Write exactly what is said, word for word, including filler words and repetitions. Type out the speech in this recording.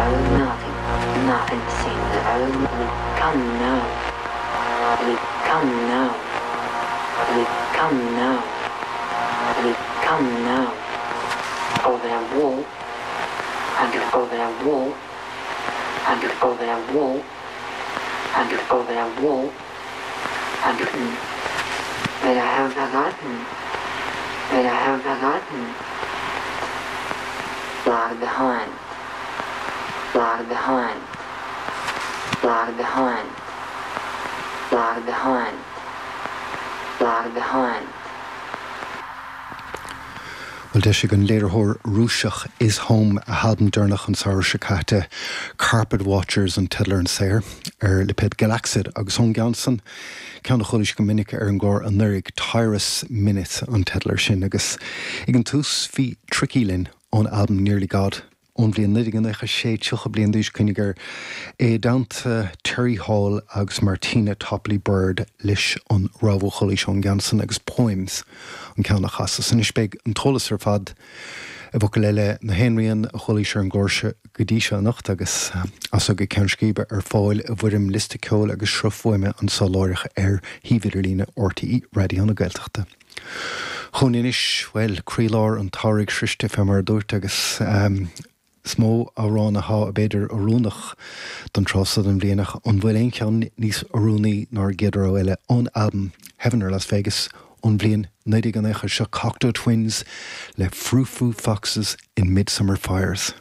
Oh, nothing, nothing seems oh, come now, come now, come now, come now, over that wall, and over that wall, and over that wall, and over that wall, and that I have forgotten, that I have forgotten, lag behind, lag behind, lag behind, lag behind, lag behind. Well d'eisigh an léiritheoir Rúiseach Is Home a halbam deireanach an samhradh seo caite Carpet Watchers an teideal ar an saothar ar lipéad Galaxid agus ón gceann san ceann a chualaís go minic ar an gclár anuraidh Tyrus Minute an teideal air sin agus ag an tús bhí Tricky linn ón albam Nearly God ón bhliain naoi déag nócha sé tríocha bliain d'aois cuimhnigh air i dteannta Terry Hall agus Martina Topley Bird leis an rogha a chualaís ón gceann san agus Poems an ceann a chasas. Anois beidh an t-eolas ar fad i bhfocail eile na haon rian a chualaís ar an gclár seo go dtí seo anocht agus as go ceann scríbe ar fáil i bhfoirm liosta ceoil agus sruth fuaime anseo láithreach ar shuíomh idirlíne RTÉ Raidió na Gaeltachta. Chun anois well croílár an tsamhraidh sroiste fé mar a dúirt agus um, Is mó amhrán atá b'fhéidir oiriúnach don tráth seo den bhliain ach an bhfuil aon cheann níos oiriúnaí ná an chéad rogha eile ón albam Heaven or Las Vegas ón bhliain naoi déag nócha seo Cocteau Twins le Frou Frou Foxes in Midsummer Fires.